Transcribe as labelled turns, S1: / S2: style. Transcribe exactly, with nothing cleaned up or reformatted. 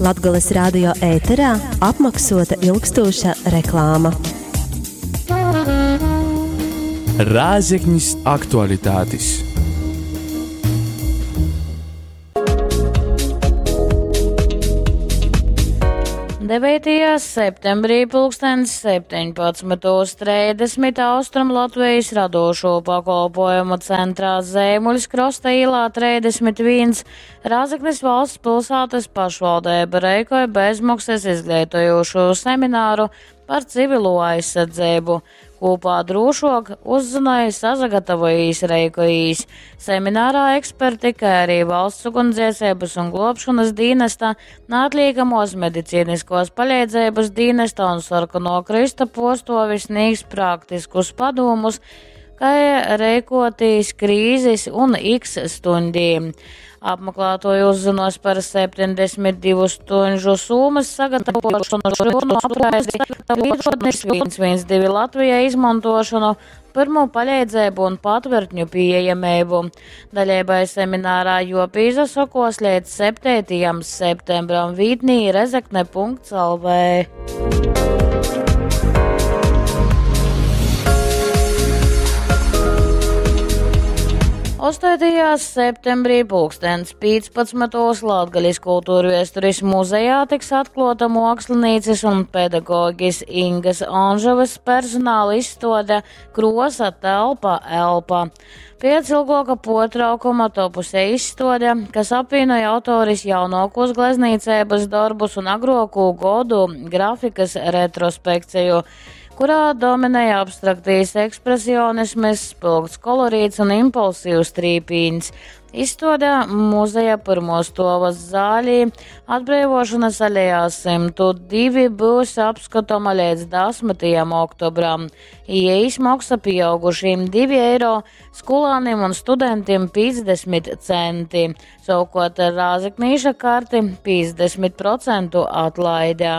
S1: Latgales radio ēterā apmaksota ilgstoša reklāma.
S2: Rēzeknis aktualitātis.
S3: devītajā septembrī pulkstens septiņpadsmitos trīsdesmit Austrum Latvijas radošo pakolpojumu centrā Zeimuļs Krosta ielā trīsdesmit viens Rēzeknes valsts pilsētas pašvaldība reikoja bezmaksas izglītojošo semināru par civilo aizsardzību. Kopā drošāk uzzināja, sasagatavojīs, reikojīs. Seminārā eksperti, kā arī valsts ugunsdzēsības un glābšanas dienesta, neatliekamos medicīniskos palīdzības dienesta un sarkano krista postovi sniegs praktiskus padomus, kā reikotīs krīzes un X stundī. Apmeklētoji uzzinos par septiņdesmit divu stundu summas sagatavošanu, viens viens divi Latvijā izmantošanu, pirmo palīdzību un patvertņu pieejamību. Daļībai seminārā jopīzasokos līdz septītajam septembram vītnī rezekne punkts lv. Astotajā septembrī pulkstens piecpadsmitos Latgales kultūrvēstures muzejā tiks atklāta mākslinieces un pedagoģis Ingas Anžavas personāla izstāde Krosa telpa elpa. Pēc ilgāka potraukuma topuse izstāde, kas apvienoja autoris jaunākos gleznīcības darbus un agrāko godu grafikas retrospekciju, kurā dominēja abstraktīs ekspresionisms, spilgts kolorīts un impulsīvs trīpīns. Izstādē muzeja pirmostovas zālī atbrīvošanas alejā simtu divi būs apskatoma līdz desmitajam oktobram. Ieejas maksa pieaugušiem divi eiro, skolāniem un studentiem piecdesmit centi. Savukārt ar rāzeknīša karti piecdesmit procentu atlaide.